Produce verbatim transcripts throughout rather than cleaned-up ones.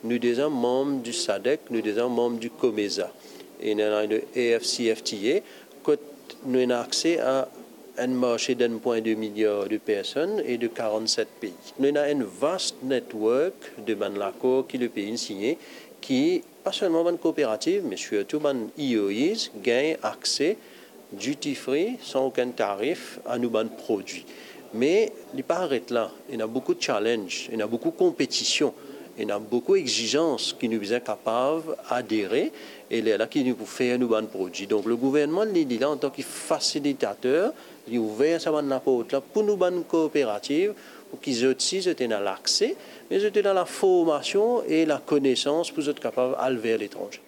Nou deza manm di sadek, nou deza manm di COMESA, e nou ena le A F C F T A, kot nou ena akse a enn marse d'enn pwin de milyar de personn e de karannset pei. Nou ena enn vast network de bann lakor ki lepei inn signe, ki pa selman bann kooperativ, me sirtou bann E O Is gagn akse duty free, san okenn tarif, a nou bann prodwi. Me li pa aret la, ena boukou challenge, ena boukou konpetision, ena boukou exizans ki nou bizin kapav adere, e lerla ki nou pou fer nou bann prodwi. Donk, le gouvernman, li, li la antan ki fasilitater, li ouver sa bann laport la pou nou bann kooperativ, pou ki zot si zot ena lakse, me zot ena laformasion e lakonesans pou zot kapav al ver letranze.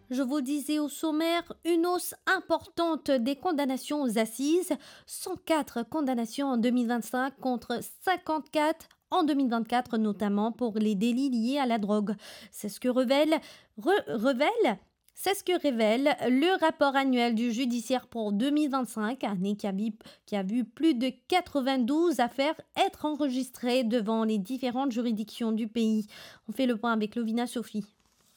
Je vous disais au sommaire, une hausse importante des condamnations aux assises, cent quatre condamnations en deux mille vingt-cinq contre cinquante-quatre en deux mille vingt-quatre, notamment pour les délits liés à la drogue. C'est ce que révèle, re-, révèle, c'est ce que révèle le rapport annuel du judiciaire pour deux mille vingt-cinq, année qui a vu, qui a vu plus de quatre-vingt-douze affaires être enregistrées devant les différentes juridictions du pays. On fait le point avec Lovina Sophie.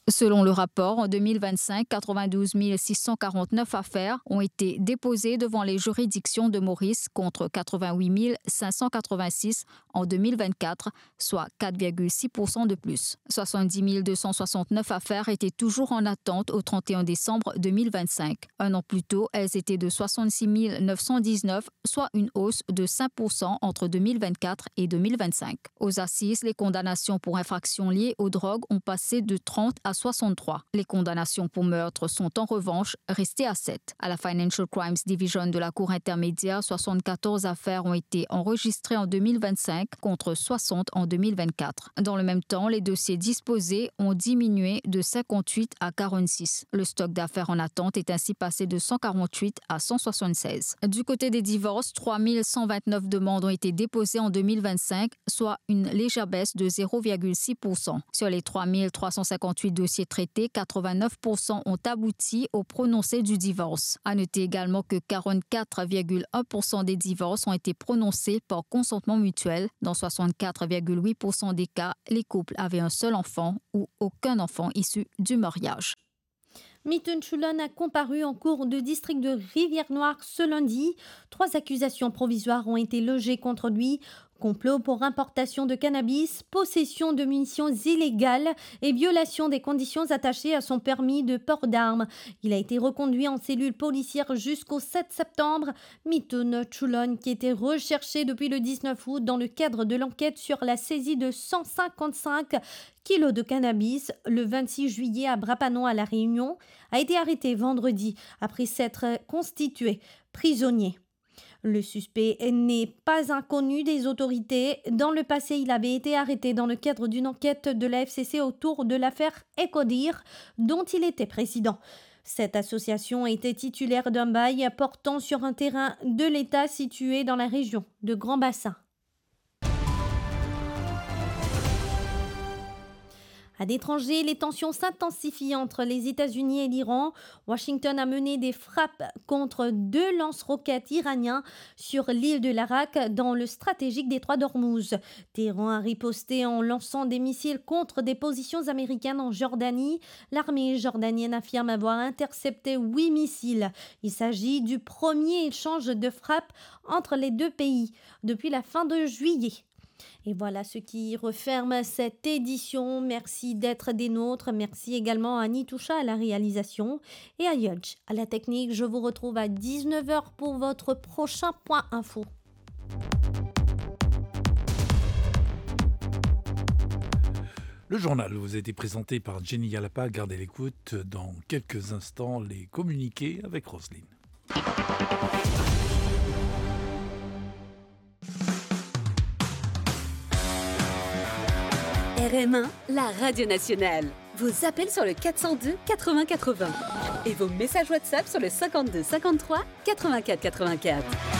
Selon le rapport, en deux mille vingt-cinq, quatre-vingt-douze mille six cent quarante-neuf affaires ont été déposées devant les juridictions de Maurice contre quatre-vingt-huit mille cinq cent quatre-vingt-six en deux mille vingt-quatre, soit quatre virgule six pour cent de plus. Soixante-dix mille deux cent soixante-neuf affaires étaient toujours en attente au trente et un décembre deux mille vingt-cinq. Un an plus tôt, elles étaient de soixante-six mille neuf cent dix-neuf, soit une hausse de cinq pour cent entre deux mille vingt-quatre et deux mille vingt-cinq. Aux assises, les condamnations pour infractions liées aux drogues ont passé de trente à soixante-trois. Les condamnations pour meurtre sont en revanche restées à sept. À la Financial Crimes Division de la Cour intermédiaire, soixante-quatorze affaires ont été enregistrées en deux mille vingt-cinq contre soixante en deux mille vingt-quatre. Dans le même temps, les dossiers disposés ont diminué de cinquante-huit à quarante-six. Le stock d'affaires en attente est ainsi passé de cent quarante-huit à cent soixante-seize. Du côté des divorces, trois mille cent vingt-neuf demandes ont été déposées en deux mille vingt-cinq, soit une légère baisse de zéro virgule six pour cent. Sur les trois mille trois cent cinquante-huit dossiers traités, quatre-vingt-neuf pour cent ont abouti au prononcé du divorce. À noter également que quarante-quatre virgule un pour cent des divorces ont été prononcés par consentement mutuel. Dans soixante-quatre virgule huit pour cent des cas, les couples avaient un seul enfant ou aucun enfant issu du mariage. Mithun Chulon a comparu en cour de district de Rivière-Noire ce lundi. Trois accusations provisoires ont été logées contre lui. Complot pour importation de cannabis, possession de munitions illégales et violation des conditions attachées à son permis de port d'armes. Il a été reconduit en cellule policière jusqu'au sept septembre. Mithun Chulon, qui était recherché depuis le dix-neuf août dans le cadre de l'enquête sur la saisie de cent cinquante-cinq kilos de cannabis le vingt-six juillet à Bras-Panon à La Réunion, a été arrêté vendredi après s'être constitué prisonnier. Le suspect n'est pas inconnu des autorités. Dans le passé, il avait été arrêté dans le cadre d'une enquête de la F C C autour de l'affaire Ecodir, dont il était président. Cette association était titulaire d'un bail portant sur un terrain de l'État situé dans la région de Grand Bassin. À l'étranger, les tensions s'intensifient entre les États-Unis et l'Iran. Washington a mené des frappes contre deux lance-roquettes iraniens sur l'île de l'Arak dans le stratégique détroit d'Ormuz. Téhéran a riposté en lançant des missiles contre des positions américaines en Jordanie. L'armée jordanienne affirme avoir intercepté huit missiles. Il s'agit du premier échange de frappes entre les deux pays depuis la fin de juillet. Et voilà ce qui referme cette édition. Merci d'être des nôtres. Merci également à Nitoucha à la réalisation et à Yodj à la technique. Je vous retrouve à dix-neuf heures pour votre prochain point info. Le journal vous a été présenté par Jenny Yalapa. Gardez l'écoute. Dans quelques instants, les communiqués avec Roselyne. R M un, la radio nationale. Vos appels sur le quatre cent deux quatre-vingts quatre-vingts et vos messages WhatsApp sur le cinquante-deux cinquante-trois quatre-vingt-quatre quatre-vingt-quatre.